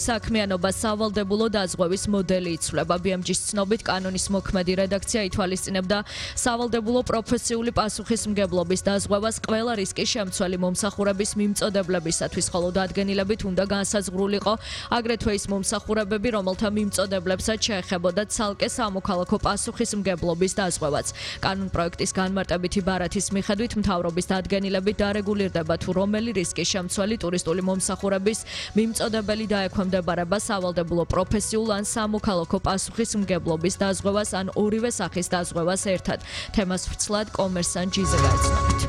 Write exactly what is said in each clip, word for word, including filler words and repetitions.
საქმიანობა სავალდებულო დაზღვევის მოდელი იცვლება. ბი ემ ჯის ცნობით კანონის მოქმედი რედაქცია ითვალისწინებდა სავალდებულო პროფესიული პასუხისმგებლობის დაზღვევას ყველა რისკის შემცველი მომსახურების მიმწოდებლებისათვის, ხოლო დადგენილებით უნდა განსაზღვრულიყო აგრეთვე ის მომსახურებები, რომელთა მიმწოდებლებსაც შეეხებოდა ცალკე სამოქალაქო პასუხისმგებლობის დაზღვევაც. კანონპროექტის განმარტებითი ბარათის მიხედვით მთავრობის დადგენილებით დარეგულირდება თუ რომელი რისკის შემცველი ტურისტული მომსახურების მიმწოდებელი დაექვემდებარება სავალდებულო პროფესიულ ან სამოქალაქო პასუხისმგებლობის დაზღვევას ან ორივე სახის დაზღვევას ერთად. თემას ვრცლად კომერსანტ ჯიზე გაეცნობით.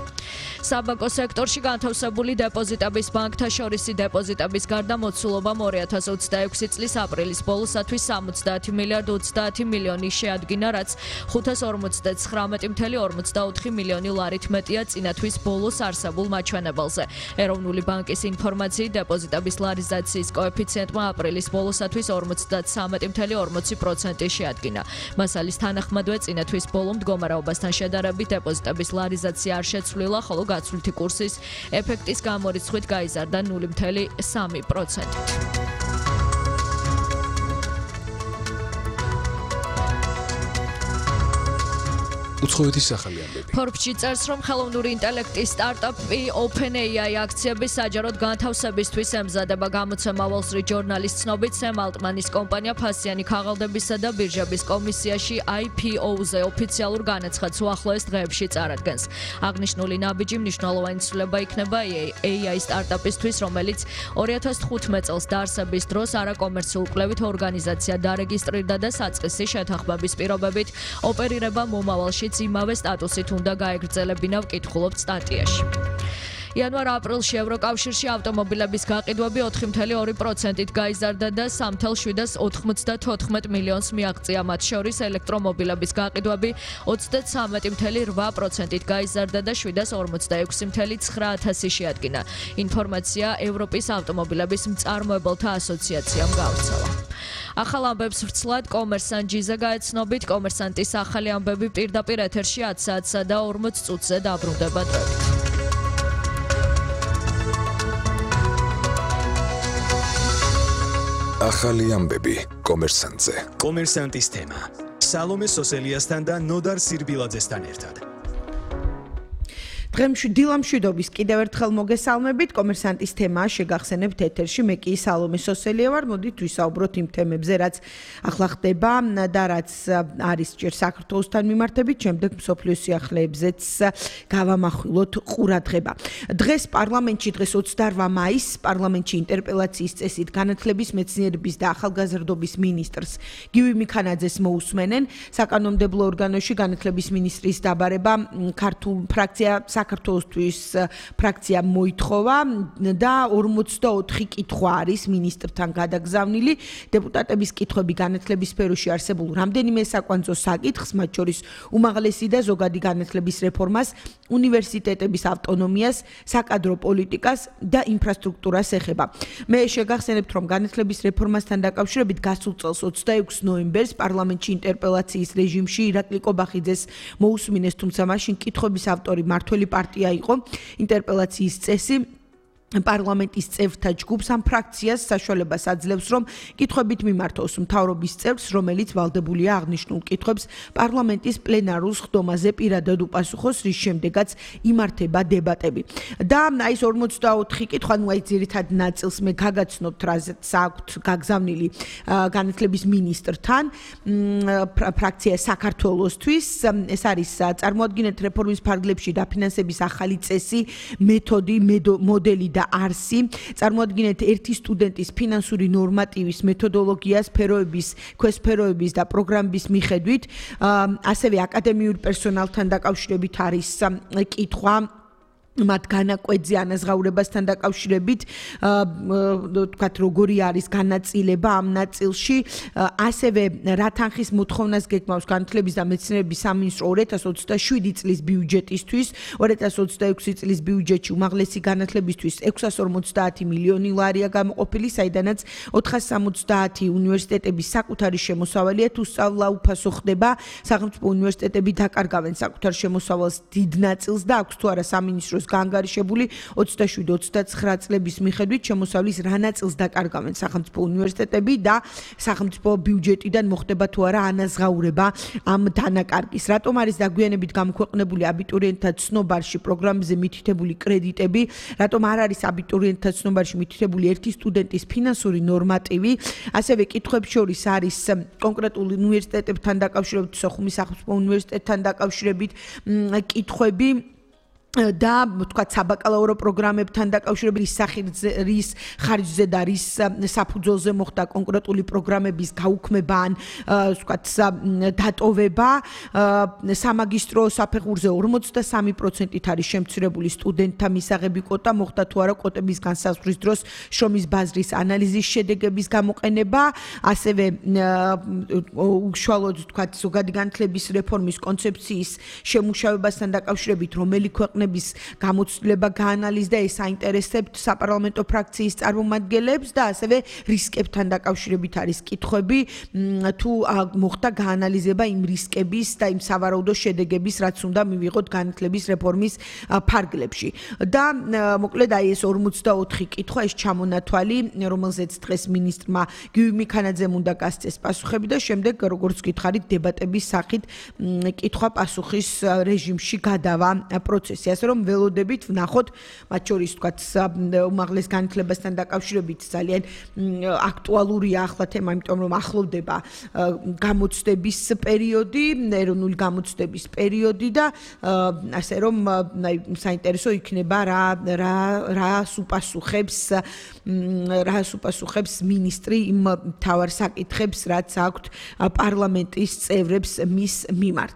საბანკო სექტორში განთავსებული დეპოზიტების ბანკთა შორისი დეპოზიტების გარდა მოცულობამ ორი ათას ოცდაექვსი წლის აპრილის ბოლოსათვის სამოცდაათი მილიარდ ოცდაათი მილიონი შეადგინა, რაც ხუთას ორმოცდათხრამეტი მცდარი ორმოცდაოთხი მილიონი ლარით მეტია წინა თვის ბოლოს არსებულ მაჩვენებელზე. ეროვნული ბანკის ინფორმაციით დეპოზიტების ლარიზაციის კოეფიციენტმა აპრილის ბოლოსათვის ორმოცდათვრამეტი მცდარი ორმოცი პროცენტი შეადგინა. მასალის თანახმადვე წინა თვის ბოლო მდგომარეობასთან შედარებით დეპოზიტების ლარიზაცია არ შეცვლილა, ხოლო გაცვლითი კურსის ეფექტის გამორიცხვით გაიზარდა ნული მცდარი სამი პროცენტით. უცხოეთის სახელი ამბები. Forbes-ში წერს, რომ ხელოვნური ინტელექტის სტარტაპი OpenAI აქციების საჯაროდ განთავსებისთვის ემზადება. გამოცემა Wall Street Journal-ის ცნობით, Sam Altman-ის კომპანია ფასიანი ქაღალდებისა და ბირჟების კომისიაში I P O-ზე ოფიციალურ განაცხადს უახლოეს დღეებში წარადგენს. აღნიშნული ნაბიჯი მნიშვნელოვანი ცვლილება იქნება A I სტარტაპისთვის, რომელიც ორი ათას თხუთმეტ წელს დაარსების დროს არაკომერციულ კვლევით ორგანიზაცია დარეგისტრირდა და საწყისი შეთანხმების პირობებით ოპერირება მომავალში იმავე სტატუსით უნდა გაეგრძელებინა, ვკითხულობთ სტატიაში. იანვარ-აპრილში ევროკავშირში ავტომობილების გაყიდვები ოთხი მცდარი ორი პროცენტით გაიზარდა და სამი ათას ოცდათოთხმეტ მილიონს მიაღწია. მათ შორის ელექტრომობილების გაყიდვები ოცდათვრამეტი მცდარი რვა პროცენტით გაიზარდა და შვიდ ათას ორმოცდაექვსი მცდარი ცხრა ათასი შეადგინა. ინფორმაცია ევროპის ავტომობილების მწარმოებელთა ასოციაციამ გავრცელა. ახალ ამბებს ვრცლად კომერსანტ ჯიზე გაეცნობით. კომერსანტის ახალი ამბები პირდაპირ ეთერში ათი საათსა და ორმოც წუთზე დაბრუნდება დროებით. ახალი ამბები კომერსანტზე. კომერსანტის თემა. სალომე სოსელიასთან და ნოდარ სირბილაძესთან ერთად. დღემში დილამშვიდობის კიდევ ერთხელ მოგესალმებით. კომერსანტის თემაა შეგახსენებთ ეთერში. მე კი სალომე სოსელია ვარ. მოდით ვისაუბროთ იმ თემებზე, რაც ახლა ხდება და რაც არის ჯერ საქართველოსთან მიმართებით, შემდეგ მსოფლიოს სიახლეებზეც გავამახვილოთ ყურადღება. დღეს პარლამენტში დღეს ოცდაორ მაისს პარლამენტში ინტერპელაციის წესით განათლების, მეცნიერების და ახალგაზრდობის მინისტრს გივი მიქანაძეს მოусმენენ. საკანონმდებლო ორგანოში განათლების მინისტრის დაბარება ქართულ ფრაქცია საქართველოსთვის ფრაქცია მოითხოვა და ორმოცდაოთხი კითხვა არის მინისტრთან გადაგზავნილი. დეპუტატების კითხვები განათლების სფეროში არსებულ რამდენიმე საკვანძო საკითხს, მათ შორის უმაღლესი და ზოგადი განათლების რეფორმას, უნივერსიტეტების ავტონომიას, საკადრო პოლიტიკას და ინფრასტრუქტურას ეხება. მე შეგახსენებთ, რომ განათლების რეფორმასთან დაკავშირებით გასულ წელს ოცდაექვსი ნოემბერს პარლამენტში ინტერპელაციის რეჟიმში ირაკლი კობახიძეს მოусმინეს, თუმცა მაშინ კითხვების ავტორი მართველი პარტია იყო. ინტერპელაციის წესი პარლამენტის წევრთა ჯგუფს ამ ფრაქციას საშუალებას აძლევს, რომ კითხვებით მიმართოს მთავრობის წევრს, რომელიც ვალდებულია აღნიშნულ კითხვებს პარლამენტის პლენარულ სხდომაზე პირადად უპასუხოს, რის შემდეგაც იმართება დებატები. და აი ეს ორმოცდაოთხი კითხვა, ნუ აი ძირითად ნაწილს მე გაგაცნობთ, რაზეც აქვთ გაგზავნილი განათლების მინისტრთან ფრაქცია საქართველოსთვის. ეს არის წარმოადგინეთ რეფორმის ფარგლებში დაფინანსების ახალი წესი, მეთოდი, მოდელი და არსი. წარმოადგინეთ ერთი სტუდენტის ფინანსური ნორმატივის მეთოდოლოგია სფეროების, ქვესფეროების და პროგრამების მიხედვით, ასევე აკადემიურ პერსონალთან დაკავშირებით არის კითხვა. მათ განაკვეთზე ანაზღაურებასთან დაკავშირებით, თქვათ, როგორი არის განაწილება ამ ნაწილში, ასევე რა თანხის მოთხოვნას გეგმავს განათლების და მეცნიერების სამინისტრო ორი ათას ოცდაშვიდი წლის ბიუჯეტისთვის, ორი ათას ოცდაექვსი წლის ბიუჯეტში უმაღლესი განათლებისთვის ექვსას ორმოცდაათი მილიონი ლარია გამოყოფილი, საიდანაც ოთხას სამოცდაათი უნივერსიტეტების საკუთარი შემოსავალია, თუ სწავლა უფასო ხდება, სახელმწიფო უნივერსიტეტები დაკარგავენ საკუთარ შემოსავალს დიდ ნაწილს და აქვს თუ არა სამინისტროს დროს გაანგარიშებული ოცდაშვიდი ოცდაცხრა წლების მიხედვით შემოსავლის რა ნაწილს დაკარგავენ სახელმწიფო უნივერსიტეტები და სახელმწიფო ბიუჯეტიდან მოხდება თუ არა ანაზღაურება ამ დანაკარგის. რატომ არის დაგვიანებით გამოქვეყნებული აბიტურიენტთა ცნობარში პროგრამებზე მითითებული კრედიტები, რატომ არ არის აბიტურიენტთა ცნობარში მითითებული ერთი სტუდენტის ფინანსური ნორმატივი, ასევე კითხვებს შორის არის კონკრეტულ უნივერსიტეტებთან დაკავშირებით, სოხუმის სახელმწიფო უნივერსიტეტთან დაკავშირებით კითხვები და თქვათ საბაკალავრო პროგრამებთან დაკავშირებით რის სახიზე რის ხარჯზე და რის საფუძველზე მოხდა კონკრეტული პროგრამების გაუქმება ან თქვათ დატოვება სამაგისტრო საფეხურზე ორმოცდასამი პროცენტით არის შემცირებული სტუდენტთა მისაღები კვოტა მოხდა თუ არა კვოტების განსაზღვრის დროს შრომის ბაზრის ანალიზის შედეგების გამოყენება ასევე უშუალოდ თქვათ ზოგადი განათლების რეფორმის კონცეფციის შემუშავებასთან დაკავშირებით რომელი ქვეყნები გამოცდილება გაანალიზდა ეს აინტერესებთ საპარლამენტო ფრაქციის წარმომადგენლებს და ასევე რისკებთან დაკავშირებით არის კითხვები თუ მოხდა გაანალიზება იმ რისკების და იმ სავარაუდო შედეგების რაც უნდა მივიღოთ განათლების რეფორმის ფარგლებში და მოკლედ აი ეს ორმოცდაოთხი კითხვა ეს ჩამონათვალი რომელზეც დღეს მინისტრმა გიორგი მიქანაძემ უნდა გასცეს პასუხები და შემდეგ როგორც გითხარით დებატების სახით კითხვა-პასუხის რეჟიმში გადავა პროცესი ასე რომ ველოდებით ვნახოთ მათ შორის თქვათ უმაღლეს განათლებასთან დაკავშირებით ძალიან აქტუალურია ახლა თემა იმიტომ რომ ახლოვდება გამოცდების პერიოდი ეროვნული გამოცდების პერიოდი და ასე რომ საინტერესო იქნება რა რა რას უპასუხებს რას უპასუხებს მინისტრი იმ თავარ საკითხებს რაც აქვთ პარლამენტის წევრებს მის მიმართ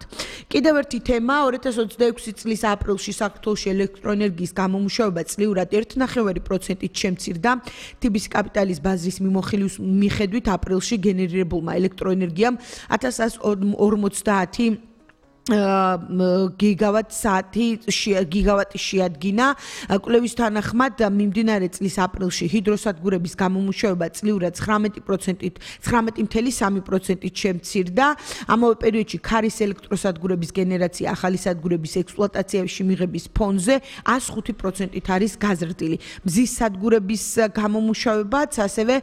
კიდევ ერთი თემა ორი ათას ოცდაექვსი წლის აპრილში საქართველოში ელექტროენერგიის გამომუშავება წლიურად ერთი ნახევარი პროცენტით შემცირდა. თბილისის კაპიტალის ბაზრის მიმოხილვის მიხედვით აპრილში გენერირებულმა ელექტროენერგიამ ათას ორმოცდაათი გიგავატ საათი გიგავატი შეადგინა. კვლევის თანახმად მიმდინარე წლის აპრილში ჰიდროსადგურების გამომუშავება წლიურად ცხრამეტი პროცენტით ცხრამეტი ფاصლე სამი პროცენტით შემცირდა. ამავე პერიოდში ქარის ელექტროსადგურების გენერაცია ახალი სადგურების ექსპლუატაციაში მიღების ფონზე ას ხუთი პროცენტით არის გაზრდილი. მზის სადგურების გამომუშავებაც ასევე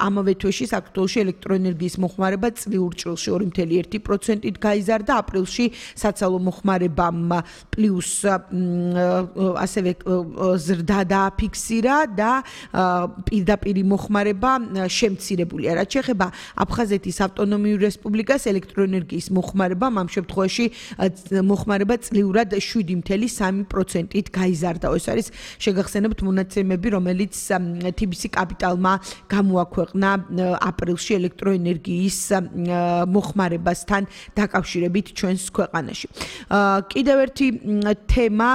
ამავე თვეში საქართველოში ელექტროენერგიის მოხმარება წლიურ ჭრილში ორი ფاصლე ერთი პროცენტით გაიზარდა. აპრილში საცალო მოხმარებამ პლუს ასევე ზრდა დააფიქსირა და პირდაპირ მოხმარება შემცირებულია. რაც შეეხება აფხაზეთის ავტონომიურ რესპუბლიკას ელექტროენერგიის მოხმარებამ ამ შემთხვევაში მოხმარება წლიურად შვიდი ფاصლე სამი პროცენტით გაიზარდა. ეს არის შეგახსენებთ მონაცემები, რომელიც თბილისის კაპიტალმა გამოაქვეყნა აპრილში ელექტროენერგიის მოხმარებასთან დაკავშირებით ჩვენს ქვეყანაში. კიდევ ერთი თემა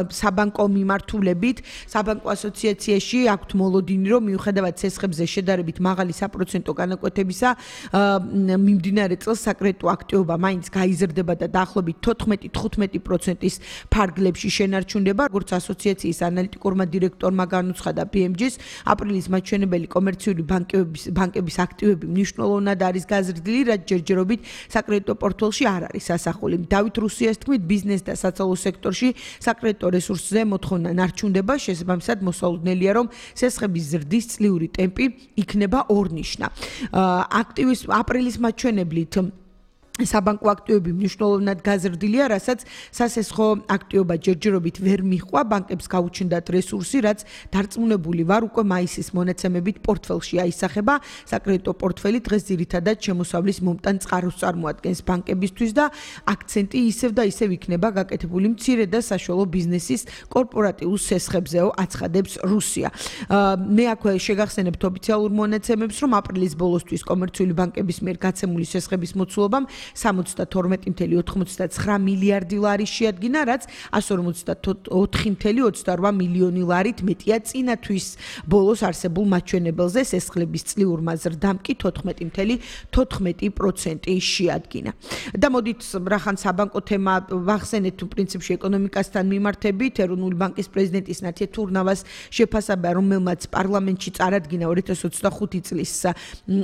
საბანკო მიმართულებით საბანკო ასოციაციაში აქვთ მოლოდინი რომ მიუხედავად ცესხებზე შედარებით მაღალი საპროცენტო განაკვეთებისა მიმდინარე წელს საკრედიტო აქტივობა მაინც გაიზრდება და დაახლოებით თოთხმეტი თხუთმეტი პროცენტის ფარგლებში შენარჩუნდება. როგორც ასოციაციის ანალიტიკურმა დირექტორმა განუცხადა პი ემ ჯი-ს აპრილის მაჩვენებელი კომერციული ბანკების ბანკების აქტივები მნიშვნელოვნად არის გაზრდილი, რაც ჯერჯერობით საკრედიტო პორტფელში არ არის ასახული. დავით რუსიას თქმით, ბიზნეს და საცალო სექტორში საკრედიტო რესურსზე მოთხოვნა ნარჩუნდება, შესაბამისად მოსალოდნელია, რომ სესხების ზრდის წლიური ტემპი იქნება ორნიშნა. აქტივის აპრილის მაჩვენებლით საბანკო აქტივები მნიშვნელოვნად გაზრდილია, რასაც სასესხო აქტივობა ჯერჯერობით ვერ მიჰყვა, ბანკებს გაუჩნდათ რესურსი, რაც დარწმუნებული ვარ უკვე მაისის მონაცემებით პორტფელში აისახება. საკრედიტო პორტფელი დღეს ძირითადად შემოსავლის მომტან წყაროს წარმოადგენს ბანკებისთვის და აქცენტი ისევ და ისევ იქნება გაკეთებული მცირე და საშუალო ბიზნესის კორპორატიულ სესხებზეო აცხადებს რუსია. მე აქვე შეგახსენებთ ოფიციალურ მონაცემებს, რომ აპრილის ბოლოსთვის კომერციული ბანკების მიერ გაცემული სესხების მოცულობამ სამოცდათორმეტი ფاصლე ოცდაცხრა მილიარდი ლარი შეადგინა, რაც ასი ორმოცდაოთხი ფاصლე ოცდარვა მილიონი ლარით მეტია წინა თვის ბოლოს არსებულ მაჩვენებელზე. სესხლების წლიურმა ზრდამ კი თოთხმეტი ფاصლე თოთხმეტი პროცენტი შეადგინა. და მოდით რახან საბანკო თემა ვახსენეთ პრინციპში ეკონომიკასთან მიმართებით, ეროვნული ბანკის პრეზიდენტის ნათია თურნავას შეფასება, რომელმაც პარლამენტში წარადგინა ორი ათას ოცდახუთი წლის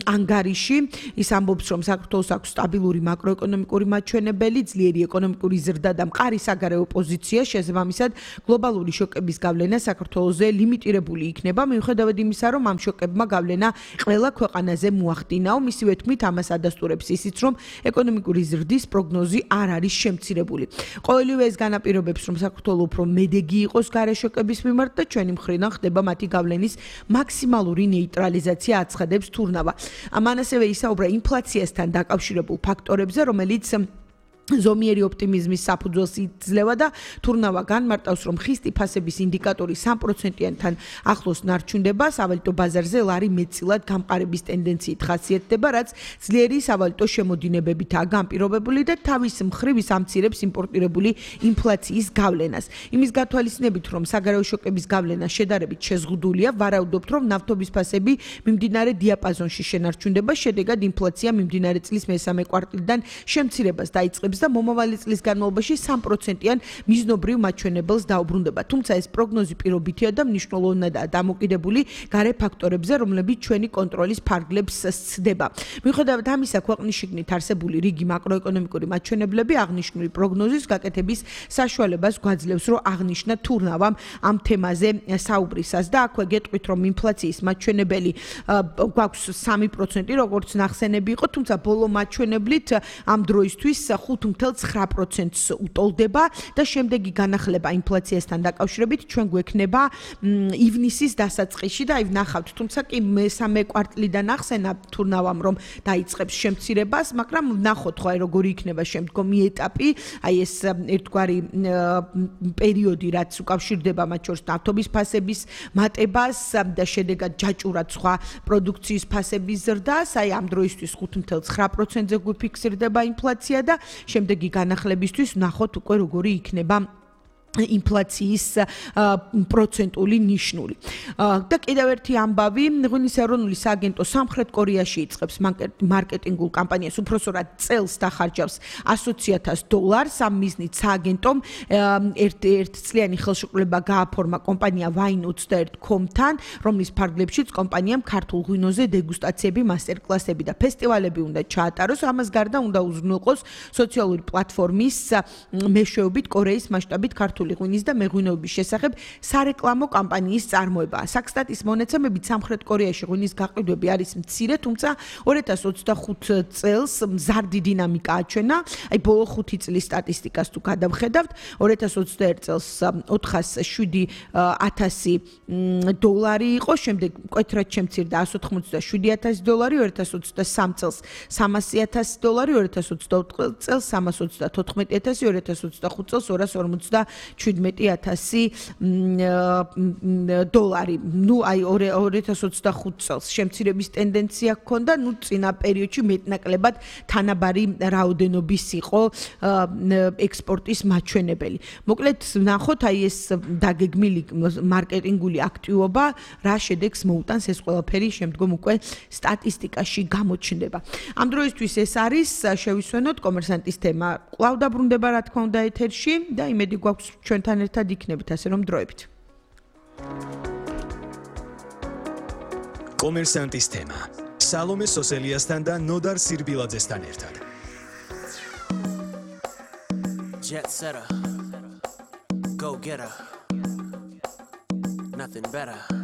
ანგარიში, ის ამბობს, რომ საქართველოს აქვს სტაბილური მაკროეკონომიკური მაჩვენებელი, ძლიერი ეკონომიკური ზრდა და მყარი საგარეო პოზიცია, შესაბამისად, გლობალური შოკების გავლენა საქართველოზე ლიმიტირებული იქნება, მიუხედავად იმისა, რომ ამ შოკებმა გავლენა ყველა ქვეყანაზე მოახდინაო. მისივე თქმით, ამას ადასტურებს ისიც, რომ ეკონომიკური ზრდის პროგნოზი არ არის შემცირებული. ყოველივე ეს განაპირობებს, რომ საქართველო უფრო მედეგი იყოს გარე შოკების მიმართ და ჩვენი მხრიდან ხდება მათი გავლენის მაქსიმალური ნეიტრალიზაცია აცხადებს თურნავა. ამან ასევე ისაუბრა ინფლაციასთან დაკავშირებულ ფაქტორებზე, რომელიც ზომიერი ოპტიმიზმის საფუძველს იძლევა და თურნავა განმარტავს, რომ ხისტი ფასების ინდიკატორი სამ პროცენტიანთან ახლოს ნარჩუნდება, სავალუტო ბაზარზე ლარი მეტწილად გამყარების ტენდენციით ხასიათდება, რაც ძლიერი სავალუტო შემოდინებებითაა განპირობებული და თავის მხრივ ის ამცირებს იმპორტირებული ინფლაციის გავლენას. იმის გათვალისწინებით, რომ საგარეო შოკების გავლენა შედარებით შეზღუდულია, ვარაუდობთ, რომ ნავთობის ფასები მიმდინარე დიაპაზონში შენარჩუნდება, შედეგად ინფლაცია მიმდინარე წლის მესამე კვარტალიდან შემცირებას დაიწყებს და მომავალი წლის განმავლობაში სამ პროცენტიან მიზნობრივ მაჩვენებელს დაუბრუნდება. თუმცა ეს პროგნოზი პირობითია და მნიშვნელოვნადაა დამოკიდებული გარე ფაქტორებზე, რომლებიც ჩვენი კონტროლის ფარგლებს სცდება. მიუხედავად ამისა, ქვეყნის შიგნით არსებული რიგი მაკროეკონომიკური მაჩვენებლები აღნიშნული პროგნოზის გაკეთების საშუალებას გვაძლევს, რომ აღნიშნა თურნავამ ამ თემაზე საუბრისას და აქვე გეტყვით, რომ ინფლაციის მაჩვენებელი გვაქვს სამი პროცენტი, როგორც ნახსენები იყო, თუმცა ბოლო მაჩვენებლით ამ დროისთვის ხუთ თუმცა ცხრა პროცენტს უტოლდება და შემდეგი განახლება ინფლაციასთან დაკავშირებით ჩვენ გვექნება ივნისის დასაწყისში და აი ვნახავთ, თუმცა კი მესამე კვარტლიდან ახსენა თურნავამ, რომ დაიწყებს შემცირებას, მაგრამ ვნახოთ ხო აი როგორი იქნება შემდგომი ეტაპი, აი ეს ერთგვარი პერიოდი, რაც უკავშირდება მათ შორის ნავთობის ფასების მატებას და შედეგად ჯაჭურად სხვა პროდუქციის ფასების ზრდას, აი ამ დროისთვის ხუთ თუმცა ცხრა პროცენტზე გვიფიქსირდება ინფლაცია და შემდეგი განახლებისთვის ვნახოთ უკვე როგორი იქნება ინფლაციის პროცენტული ნიშნული. და კიდევ ერთი ამბავი, ღვინის ეროვნული სააგენტო სამხრეთ კორეაში იწყებს მარკეტინგულ კამპანიას, უпроსორად წელს დახარჯავს ასოციათას დოლარს. ამ მიზნით სააგენტომ ერთწლიანი ხელშეკრულება გააფორმა კომპანია ვაინ ოცდაერთი კომ-თან, რომლის ფარგლებშიც კომპანიამ ქართულ ღვინოზე დეგუსტაციები, მასტერკლასები და ფესტივალები უნდა ჩაატაროს. ამას გარდა უნდა უზრუნველყოს სოციალური პლატფორმის მეშვეობით კორეის მასშტაბით ქართული ღვინის და მეღვინეობის შესახებ სარეკლამო კამპანიის წარმოება. საქსტატის მონაცემებით სამხრეთ კორეაში ღვინის გაყიდვები არის მცირე, თუმცა ორი ათას ოცდახუთი წელს მზარდი დინამიკა აჩვენა. აი ბოლო ხუთი წლის სტატისტიკას თუ გადავხედავთ, ორი ათას ოცდაერთი წელს ოთხას შვიდი ათასი დოლარი იყო, შემდეგ მკვეთრად შემცირდა ასი ოცდაშვიდი ათასი დოლარი, ორი ათას ოცდასამი წელს სამასი ათასი დოლარი, ორი ათას ოცდაოთხი წელს სამას ოცდათოთხმეტი ათასი, ორი ათას ოცდახუთი წელს ორას ორმოცდაშვიდმეტი ათასი დოლარი. ნუ აი ორი ათას ოცდახუთი წელს შემცირების ტენდენცია ჰქონდა, ნუ წინა პერიოდში მეტნაკლებად თანაბარი რაოდენობის იყო ექსპორტის მაჩვენებელი. მოკლედ ვნახოთ აი ეს დაგეგმილი მარკეტინგული აქტივობა რა შედეგს მოუტანს, ეს ყველაფერი შემდგომ უკვე სტატისტიკაში გამოჩნდება. ამ დროისთვის ეს არის, შევისვენოთ კომერსანტის თემა. კვლავ დაბრუნდება რა თქმა უნდა ეთერში და იმედი გვაქვს ჩვენთან ერთად იქნებით, ასე რომ დროებით. კომერსანტის თემა. სალომე სოსელიასთან და ნოდარ სირბილაძესთან ერთად. Jet setter, go getter, nothing better.